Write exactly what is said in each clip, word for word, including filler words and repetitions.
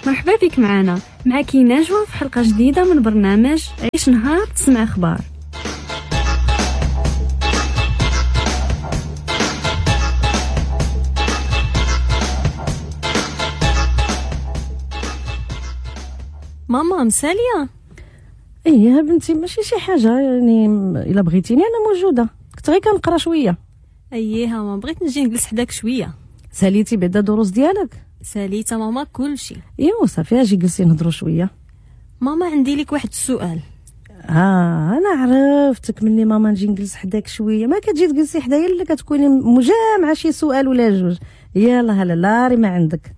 مرحبا بك معنا، معك نجوى في حلقة جديدة من برنامج عيش نهار تسمع أخبار. ماما مسالية؟ ايه بنتي، ماشي شي حاجة يعني، الا بغيتيني انا موجودة، كنت غير كنقرا شوية. اييه ماما، بغيت نجي نجلس حداك شوية. ساليتي بعدا دروس ديالك؟ ساليت ماما كلشي. ايوا صافي، اجي جلسي نهضروا شوية. ماما عندي لك واحد السؤال. اه انا عرفتك مني ماما نجي نجلس حداك شوية، ما كتجي تجلسي حدايا الا كتكوني مجامعه شي سؤال ولا جوج. يلا هلا لاري ما عندك.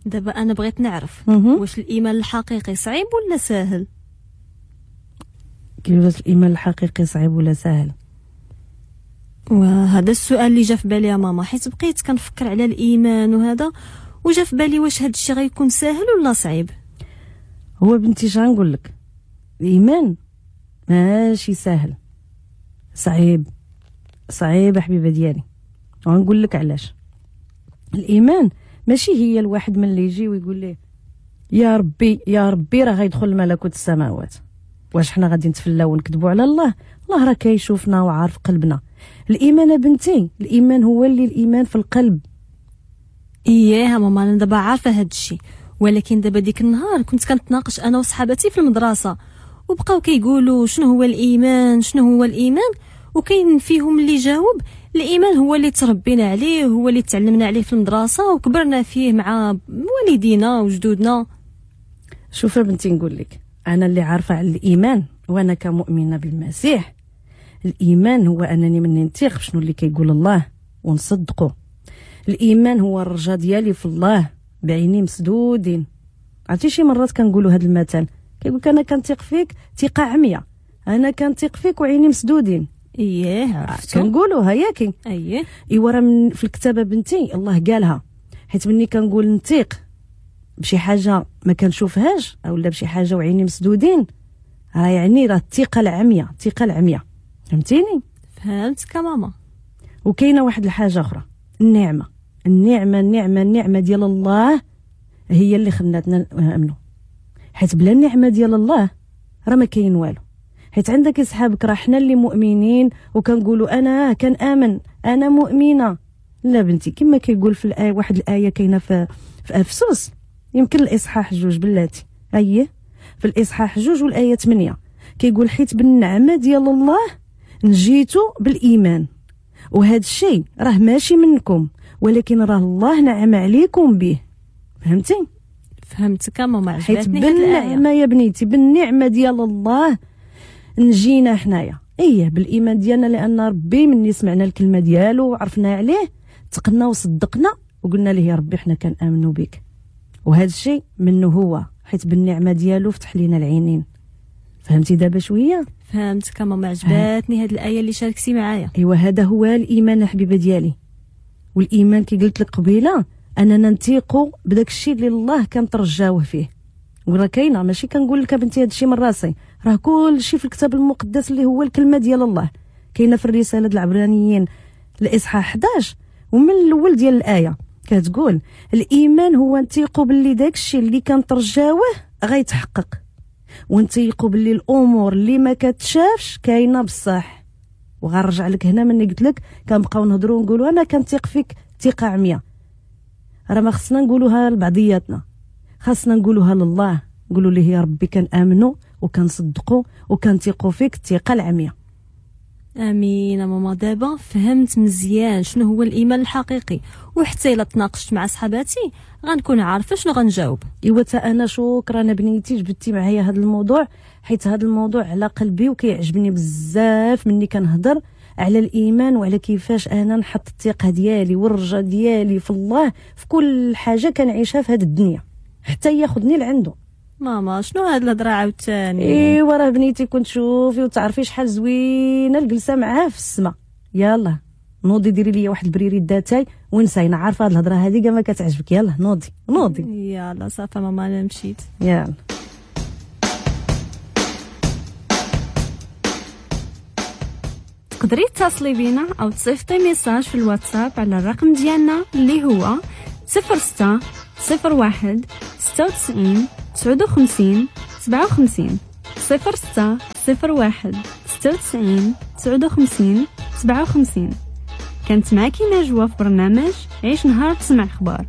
دابا انا بغيت نعرف واش الايمان الحقيقي صعيب ولا ساهل؟ كيفاش الايمان الحقيقي صعيب ولا ساهل؟ وهذا السؤال اللي جا في بالي يا ماما، حيت بقيت كنفكر على الايمان وهذا، وجا في بالي واش هذا الشيء غيكون ساهل ولا صعيب. هو بنتي شنو نقول لك، الايمان ماشي ساهل، صعيب صعيب حبيبه ديالي. وغنقول لك علاش. الايمان ماشي هي الواحد من اللي يجي ويقول ليه يا ربي يا ربي راه غيدخل ملكوت السماوات. واش حنا غادي نتفلاو ونكذبوا على الله؟ الله راه كيشوفنا وعارف قلبنا. الايمان بنتي، الايمان هو اللي الايمان في القلب. اييه ماما، انا دابا عارفه هاد الشيء، ولكن دابا ديك النهار كنت كنتناقش انا وصحاباتي في المدرسة، وبقاو كيقولوا شنو هو الايمان شنو هو الايمان، وكاين فيهم اللي جاوب الايمان هو اللي تربينا عليه، هو اللي تعلمنا عليه في المدرسة وكبرنا فيه مع والدينا وجدودنا. شوف بنتي نقول لك، انا اللي عارفه على الايمان وانا كمؤمنه بالمسيح، الايمان هو انني من نثيق شنو اللي كيقول الله ونصدقه. الايمان هو الرجاء ديالي في الله بعيني مسدودين. عرفتي شي مرات كنقولوا هذا المثل، كيقول لك انا كنثيق فيك ثقة عمياء، انا كنثيق فيك وعيني مسدودين. اييه عرفتو، كنقولوها ياكي. اييه ايوا راه من في الكتابة بنتي الله قالها، حيت مني كنقول نثيق بشي حاجة ما كنشوفهاش اولا بشي حاجة وعيني مسدودين، راه يعني راه الثقة العمياء، الثقة العمياء. فهمتيني؟ فهمتك ماما. وكاينه واحد الحاجة اخرى، النعمة النعمة النعمة النعمة ديال الله هي اللي خلاتنا نامنوا، حيت بلا النعمة ديال الله راه ما كاين والو. حيت عندك اصحابك راه حنا اللي مؤمنين وكنقولوا انا كنامن انا مؤمنة. لا بنتي، كما كيقول في الايه، واحد الايه كاينه في في افسس، يمكن الاصحاح جوج بلاتي، اييه في الاصحاح جوج والايه ثمانية، كيقول حيت بالنعمة ديال الله نجيتو بالايمان، وهذا الشيء راه ماشي منكم ولكن راه الله نعم عليكم به. فهمتي؟ فهمتك ماما، حيت بالنعمة يا بنيتي، بالنعمة ديال الله نجينا حنايا، ايه بالايمان ديالنا، لان ربي مني سمعنا الكلمة ديالو وعرفنا عليه تقنا وصدقنا وقلنا ليه يا ربي حنا كنامنوا بك، وهذا الشيء منه هو، حيت بالنعمة ديالو فتح لينا العينين. فهمتي دابا شوية؟ فهمتك ماما، عجباتني هاد الايه اللي شاركتي معايا. ايوا هذا هو الايمان حبيبه ديالي. والايمان كي قلت لك قبيلة اننا نثيقوا بداك الشيء اللي الله كنترجاوه فيه، وراه كاينه، ماشي كنقول لك بنتي هذا الشيء من راسي، راه كل شيء في الكتاب المقدس اللي هو الكلمة ديال الله، كاينه في الرسالة ديال العبرانيين الاصحاح احداش ومن الاول ديال الايه كتقول الايمان هو نثيقوا باللي داك الشيء اللي كنترجاوه غيتحقق، ونثيقوا باللي الامور اللي ما كتشافش كاينه بصح. وغنرجع لك هنا مني قلت لك كنبقاو نهضروا ونقولوا انا كنثيق فيك ثقة عمياء، راه ما خصنا نقولوها لبعضياتنا، خاصنا نقولوها لله، نقولوا ليه يا ربي كنامنوا وكنصدقوا وكنثيقوا فيك الثقة العمياء. امين ماما، دابا فهمت مزيان شنو هو الايمان الحقيقي، وحتى الا تناقشت مع صحاباتي غنكون عارفه شنو غنجاوب. ايوا تا انا شكرا بنيتي جبتي معايا هذا الموضوع، حيت هذا الموضوع على قلبي وكيعجبني بزاف مني كنهضر على الايمان وعلى كيفاش انا نحط الثقة ديالي والرجاء ديالي في الله في كل حاجة كنعيشها في هذه الدنيا حتى ياخذني لعنده. ماما شنو هاد الهضرة عاوتاني؟ ايوا راه بنيتي كنت تشوفي وتعرفي شحال زوينة الجلسة معاه في السما. يلا نوضي ديري لي واحد البريري داتاي ونساينا، عارفه هاد الهضرة هادي كاع ما كتعجبك. يلا نوضي نوضي. يلا صافي ماما انا مشيت. يلا. تقدري تتصلي بينا او تصيفطي message في الواتساب على الرقم ديالنا اللي هو صفر ستة صفر واحد ستة وتسعين تسعة وخمسين سبعة وخمسين، صفر ستة صفر واحد ستة وتسعين تسعة وخمسين سبعة وخمسين. كانت معاكي نجوى في برنامج عيش نهار تسمع اخبار.